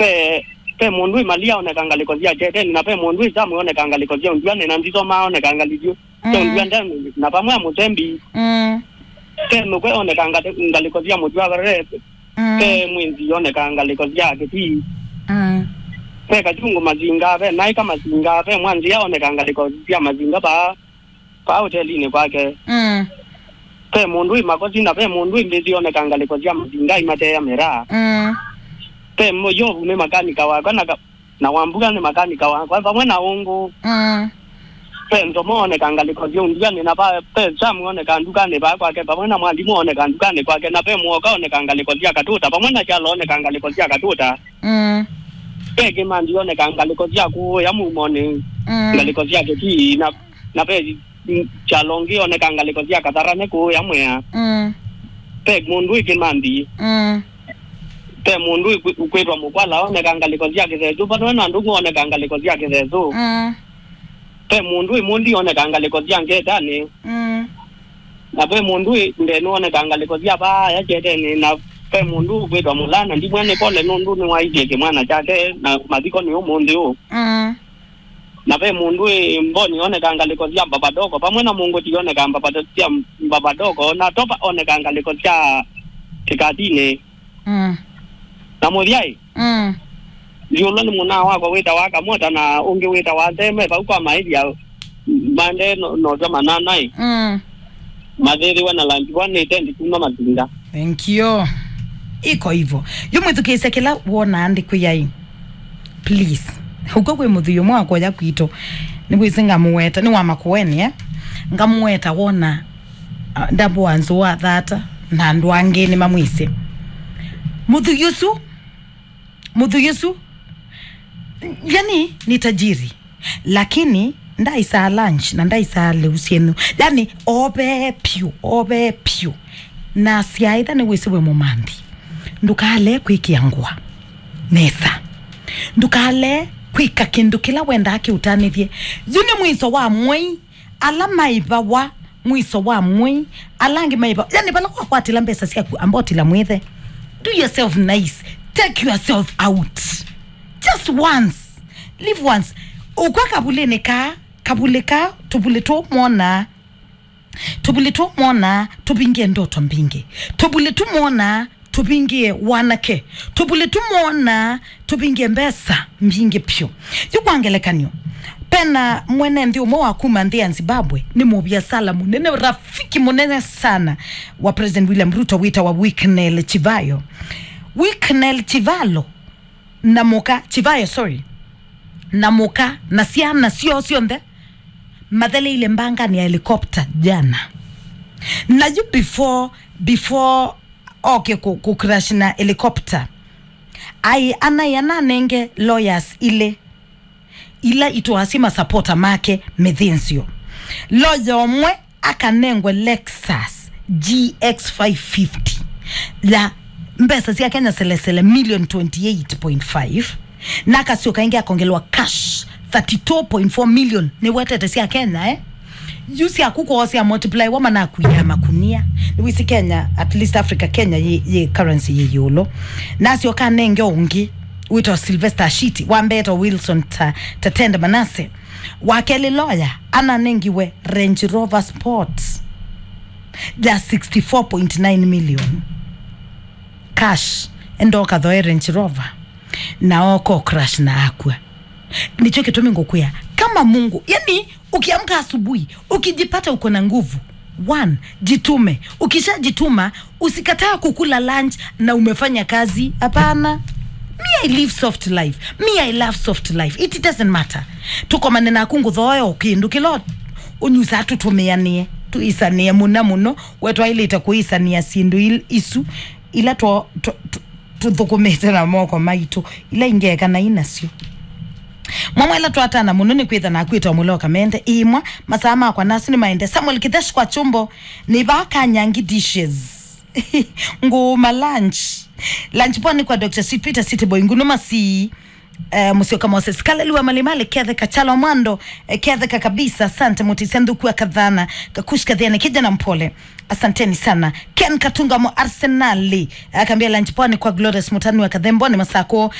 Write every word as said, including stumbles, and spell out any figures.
Ve, ve mũndũ ĩ Malia oneka ngalĩko sya Kyeteni, na ve mũndũ ĩ Samu oneka ngalĩko sya Ũnduanĩ, na Ndisoma oneka ngalĩko sya Mm. Ũnduanĩ, na vamwe na Mũsembi. Mm. Ve Nũkwe oneka ngalĩ-, ngalĩko sya Mũtwavare. Mm. Ve Mwĩnzi oneka ngalĩko sya Kĩtii. Mm. Ve Kachungu Masinga, ve Naika Masinga, ve Mwanzia oneka ngalĩko sya Masinga vaa, vaa hotelinĩ kwake. Mm. Ve mũndũ ĩ Makosi, na ve mũndũ ĩ Mbĩthi oneka ngalĩko sya Masinga imateea mĩraa. Mm. Ve Mũyovu nĩ makanika wakwa, na ka-, na Wambuga nĩ makanika wakwa, vamwe na Ũngũ. Mm. Ve Nzomo oneka ngalĩko sya Ũnduanĩ, na va-, ve Samu oneka ndukanĩ vaa kwake, vamwe na Mwalimũ oneka ndukanĩ kwake, na ve Mũoka oneka ngalĩko sya Katũta, vamwe na Kyalo oneka ngalĩko sya Katũta. Mm. Ve Kĩmandi oneka ngalĩko sya kũũya Mumonĩ, Mm. ngalĩko sya Kĩtii, na, na ve, mm, Kyalo ũngĩ oneka ngalĩko sya Katharane kũũya Mwea. Mm. Ve mũndũ ĩ Kĩmandi. Mm. Ve mũndũ ĩ kwĩ-, kwĩtwa Mũkwala oneka ngalĩko sya Kĩthesũ, vamwe na Ndũng'ũ oneka ngalĩko sya Kĩthesũ. Mm. Ve mũndũ ĩ Mũndi oneka ngalĩko sya Ngetanĩ. Mm. Na ve mũndũ ĩ Ndenu oneka ngalĩko sya vaa ya Kyeteni, na ve mũndũ ũkwĩtwa Mũlana Ndimwe nĩ pole nũndũ nĩwaisye kĩmwana kyake na mathiko nĩ ũmũnthĩ ũũ. Mm. Na ve mũndũ ĩ Mboni oneka ngalĩko sya Mbavadoko, vamwe na Mũngũti oneka mbavado-, sya Mbavadoko, na Topa oneka ngalĩko sya Kĩkatinĩ. Mm. Na mũthyaĩ, Mm. Ndiũlwa nĩ mũnaa wakwa wĩtawa Kamota na ũngĩ wĩtawa Nzeme, vau kwa maĩthya mande no-, notwa mananaĩ. Mm. Mathĩthĩwe na lunch one itendi kuma Masinga. Thank you. Iko hivyo. Yu mwĩthukĩĩsya kĩla wonaa ndikwĩai. Please. Ũkw'a kwĩ mũthũi ũmwe wakoya kwitũ. Nĩwĩsĩ ngamũweta, nĩ wa Makueni, eh? Ngamũweta wona, ah, ndambũa nzũa thata, na andũ angĩ nĩmamwĩsĩ. Mũthũi ũsu, mũthũi ũsu, yani, ni tajiri. Lakini ndaisaa lunch na ndaisaa lĩu syenyu. Yani, ovee pyũ, ovee pyũ. Na syaĩtha nĩwĩsĩ wĩ mũmanthi, ndũkalee kwĩkĩa ngũa nesa. Ndũkalee kwĩka kĩndũ kĩla wendaa kĩũtanĩthye. Yu nĩ mwiso wa mwei. Ala maĩvawa mwiso wa mwei, ala angĩ maĩvawa. Yani, vala wakwatĩla mbesa syaku, amba ũtila mwĩthe. Do yourself nice. Take yourself out. Just once. Live once. Ũkw'a kavulĩnĩ kaa, kavulĩ kaa, tũvulĩ tũmwonaa. Tũvulĩ tũmwonaa, tũvingie ndoto mbingĩ. Tũvulĩ tũmwonaa, tũvingie wanake. Tũvulĩ tũmwonaa, tũvingie mbesa mbingĩ pyũ. Yu kwa ngelekany'o, pena mwene nthĩ ũmwe wa kuma nthĩ ya Zimbabwe, nĩ mũviasala mũnene, rafiki mũnene sana wa President William Ruto, wĩtawa Wicknell Chivayo. Wicknell Chivalo na mũka, Chivayo, sorry, na mũka na syana syoo syonthe matheleile mbanganĩ ya helicopter jana. Na yu before, before oke kũ, kũ crash na helicopter, ai, anaĩ ananenge lawyers ilĩ ila itwaasye masapota make mĩthĩnzĩo. Lawyer ũmwe akanengwe Lexus G X five fifty ya mbesa sya Kenya selesele million twenty eight point five, na akasyoka ĩngĩ akongelwa cash thirty-two point four million. Nĩwetete sya Kenya, eh? Yu syaku kwoo sya multiply wa manakuia makunia. Nĩwĩsĩ Kenya, at least Africa, Kenya yĩ, yĩ currency yĩ ĩũlũ. Nasyoka anenge ũngĩ wĩtawa Sylvester Ashiti, wa mbee ta Wilson ta, Tatende Manase. Wa kelĩ lawyer ananengiwe Range Rover Sport ya sixty-four point nine million cash, enda ũkathoe Range Rover, na oka crash na akw'a. Nĩkyo kĩtumi ngũkwĩa, kama Mungu, yani, ukiamka asubuhi ukijipata uko na nguvu, one, jitume. Ukishajituma, usikataa kukula lunch na umefanya kazi. Hapana. Me, I live soft life. Me, I love soft life. It doesn't matter. Tũkomane naku ngũthooe o kĩndũ kĩla ũnyusaa, tũtũmĩanĩe, tũĩsanĩe mũna mũno. We twaĩlĩte kũĩsanĩa syĩndũ il-, isu ila tũ-, tũ-, tũ-, tũthũkũmĩte na moko maitũ, ila ingĩ ekanai nasyo. Mwamwa ĩla twatana mũno nĩ kwĩtha nakwĩtwa mũloka mende. Ĩmwa, masaa makwa nasu nĩ maende. Samuel Kithesh kwa chumbo, nĩ vaa Kanyangi dishes. Ngũũma lunch. Lunch poa nĩ kwa Doctor Sweet Peter, City Boy, Ngunu Masii, eh, Musyoka Moses, Kaleli wa Malimali, Ketheka, Chalo Mwando, eh, Ketheka kabisa, asante, Mutisia Nthuku wa Kathana, Kakush Kathiani, kijana mpole. Asanteni sana. Ken Katunga mo Arsenali, akambia lunch poa nĩ kwa Glorious Mutani wa Kathemboni Masako,